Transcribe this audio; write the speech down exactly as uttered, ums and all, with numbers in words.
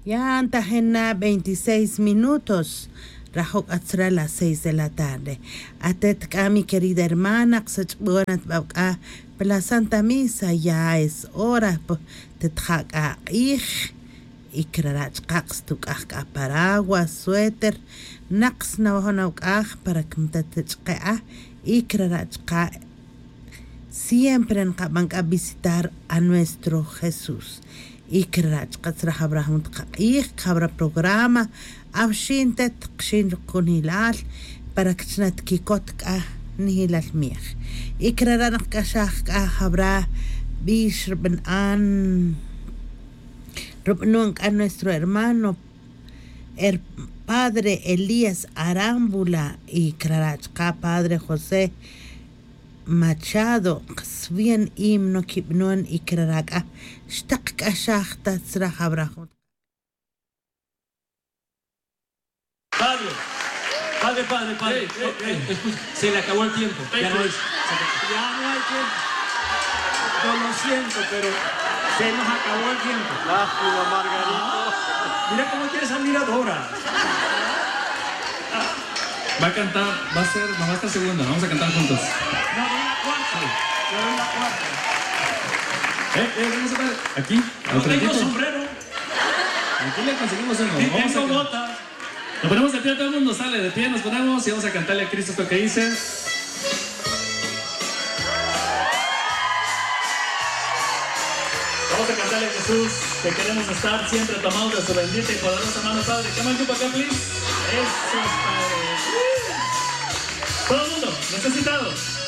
Ya ntajin na veintiséis minutos. Rajo' k'a tzra las seis de la tarde. Atet k'a mi querida hermana, ksach'bon at bab k'a pa la Santa Misa, ya es hora, tet ja' k'a q'ij. Y krara' chqa' kstuk'aj k'a paraguas, suéter, naq snawajon awk'aj para que mta ta ch'qe' a. Y krara' chqa' siempre nqaban k'a visitar a nuestro Jesús. Y krara' chqa' tzra jawra jun taq q'ij, jawra programa, awxin tet qxin rukunilal para que chna tkikot k'a nijilal miej. Y krara' naq k'axaj k'a jawra bix rub'an, rub'anon k'a nuestro hermano, el padre Elías Arámbula, y krara' chqa' padre José Machado, qswien himno kib'anon y krara' k'a xtaq k'axaj ta tzra jawra jun. Padre, padre, padre, padre. Ey, ey, ey, escucha, se le acabó el tiempo. Ya no hay. Ya no hay tiempo. Yo lo siento, pero se nos acabó el tiempo. Lástima, Margarito. Ah, mira cómo quiere salir Adora. Va a cantar, va a ser, no va a estar segunda, vamos a cantar juntos. No, doy la cuarta. Yo doy la cuarta. Eh, eh, vamos a ver, aquí, no tengo sombrero. Aquí le conseguimos uno. Ni tengo bota. Nos ponemos de pie, todo el mundo sale de pie, nos ponemos y vamos a cantarle a Cristo esto que dice. Vamos a cantarle a Jesús que queremos estar siempre tomados de su bendita y poderosa mano, Padre. Come on, you, acá, please. Eso es, Padre. Todo el mundo, necesitados.